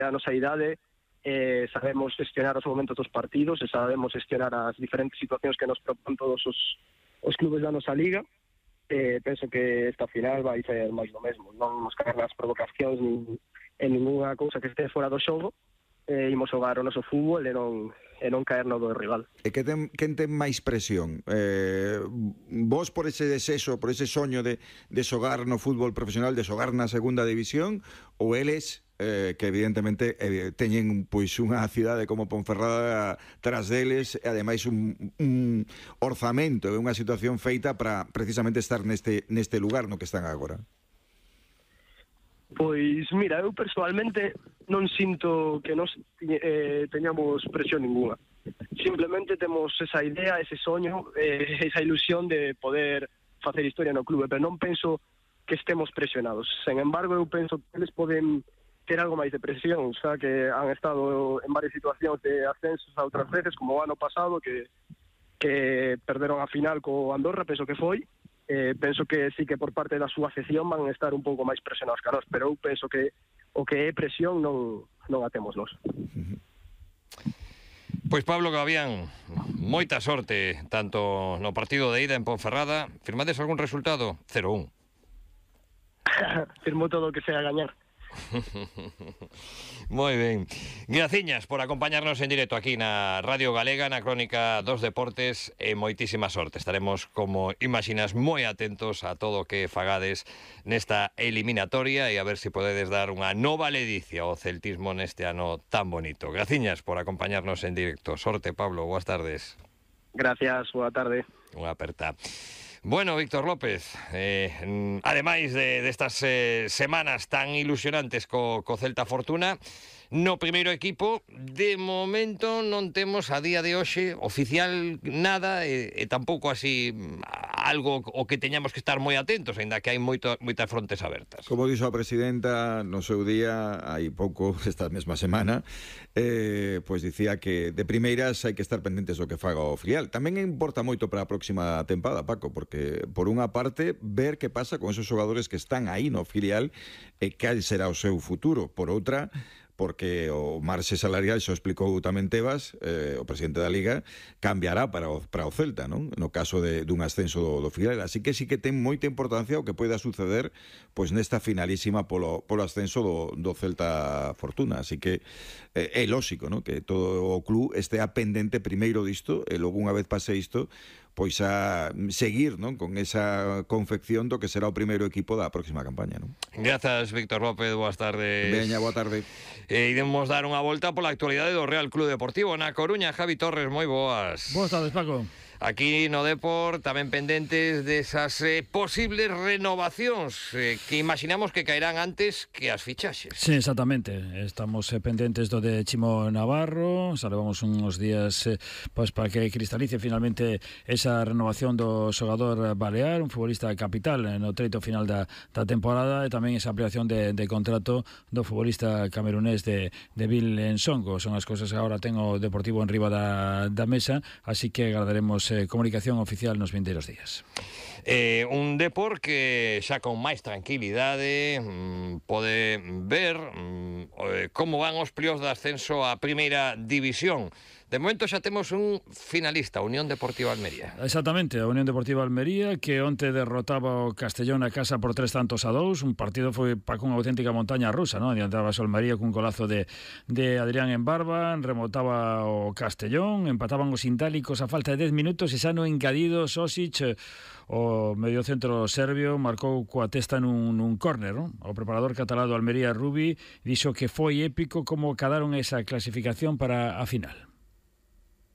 a nosa idade, sabemos gestionar os momentos dos partidos e sabemos gestionar as diferentes situacións que nos propón todos os clubes da nosa liga. Penso que esta final vai ser máis do mesmo, non nos caer nas provocacións nin en ninguna cousa que este fora do xogo. Imos xogar o noso fútbol e non caer no do rival. E quen ten máis presión? Vos por ese desexo, por ese soño de xogar no fútbol profesional, de xogar na segunda división, ou eles que evidentemente teñen pois unha cidade como Ponferrada tras deles e ademais un orzamento e unha situación feita para precisamente estar neste lugar no que están agora? Pois mira, eu personalmente non sinto que nos teñamos presión ninguna. Simplemente temos esa idea, ese soño, esa ilusión de poder facer historia no clube, pero non penso que estemos presionados. Sen embargo, eu penso que eles poden ter algo máis de presión, xa que han estado en varias situacións de ascensos a outras veces, como o ano pasado, que perderon a final co Andorra, penso que foi. Penso que sí que por parte da súa afección van a estar un pouco máis presionados que nós, pero eu penso que o que é presión non a temos nós. Pois Pablo Gavián, moita sorte tanto no partido de ida en Ponferrada. Firmades algún resultado? 0-1. Firmo todo o que sea gañar. Moi ben. Graciñas por acompañarnos en directo aquí na Radio Galega, na Crónica dos Deportes, e moitísima sorte. Estaremos, como imaginas, moi atentos a todo o que fagades nesta eliminatoria e a ver se podedes dar unha nova ledicia ao celtismo neste ano tan bonito. Graciñas por acompañarnos en directo. Sorte, Pablo, boas tardes. Gracias, boa tarde. Unha aperta. Bueno, Víctor López, ademais destas semanas tan ilusionantes co Celta Fortuna, no primeiro equipo, de momento non temos a día de hoxe oficial nada e tampouco así algo o que teñamos que estar moi atentos, aínda que hai moitas frontes abertas. Como dixo a presidenta no seu día, hai pouco, esta mesma semana, pois dicía que de primeiras hai que estar pendentes do que faga o filial. Tamén importa moito para a próxima tempada, Paco, porque por unha parte ver que pasa con esos xogadores que están aí no filial e cal será o seu futuro. Por outra, porque o marxe salarial, xo explicou tamén Tebas, o presidente da Liga, cambiará para o Celta, non? No caso dun ascenso do filial. Así que sí que ten moita importancia o que poida suceder pois nesta finalísima polo ascenso do Celta Fortuna. Así que é lóxico, non? Que todo o club estea pendente primeiro disto e logo unha vez pase isto pois a seguir, non, con esa confección do que será o primeiro equipo da próxima campaña, non? Grazas, Víctor López, boas tardes. Veña, boa tarde. Iremos dar unha volta pola actualidade do Real Club Deportivo na Coruña. Javi Torres, moi boas. Boas tardes, Paco. Aquí no Depor tamén pendentes desas posibles renovacións que imaginamos que caerán antes que as fichaxes. Sí, exactamente. Estamos pendentes do de Chimo Navarro. Xa levamos uns días pois para que cristalice finalmente esa renovación do xogador balear, un futbolista capital no treito final da temporada, e tamén esa ampliación de contrato do futbolista camerunés de Bill Nsongo. Son as cousas que agora ten o Deportivo en riba da mesa, así que agradaremos comunicación oficial nos vindeiros días. Un Depor que xa con máis tranquilidade pode ver como van os plios de ascenso á primeira división. De momento xa temos un finalista, Unión Deportiva Almería. Exactamente, a Unión Deportiva Almería, que onte derrotaba o Castellón a casa por 3-2. Un partido foi para unha auténtica montaña rusa, non? Adiantaba o Almería cun golazo de Adrián en Barba, remotaba o Castellón, empataban os intálicos a falta de 10 minutos e xa no engadido Sosic, o mediocentro serbio, marcou coa testa nun córner, non? O preparador catalán do Almería, Rubi, dixo que foi épico como cadaron esa clasificación para a final.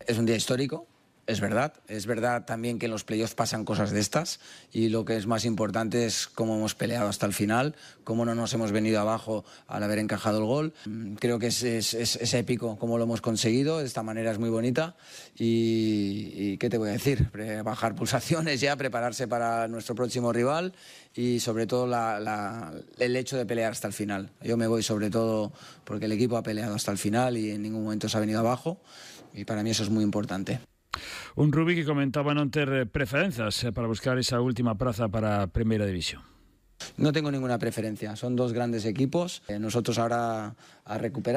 Es un día histórico, es verdad también que en los playoffs pasan cosas de estas, y lo que es más importante es cómo hemos peleado hasta el final, cómo no nos hemos venido abajo al haber encajado el gol. Creo que es épico cómo lo hemos conseguido, de esta manera es muy bonita, y ¿qué te voy a decir? Bajar pulsaciones ya, prepararse para nuestro próximo rival, y sobre todo el hecho de pelear hasta el final. Yo me voy sobre todo porque el equipo ha peleado hasta el final y en ningún momento se ha venido abajo, y para mí eso es muy importante. Un Rubi que comentaba non ter preferenzas para buscar esa última praza para a Primeira División. No tengo ninguna preferencia, son dos grandes equipos. Nosotros ahora a recuperar.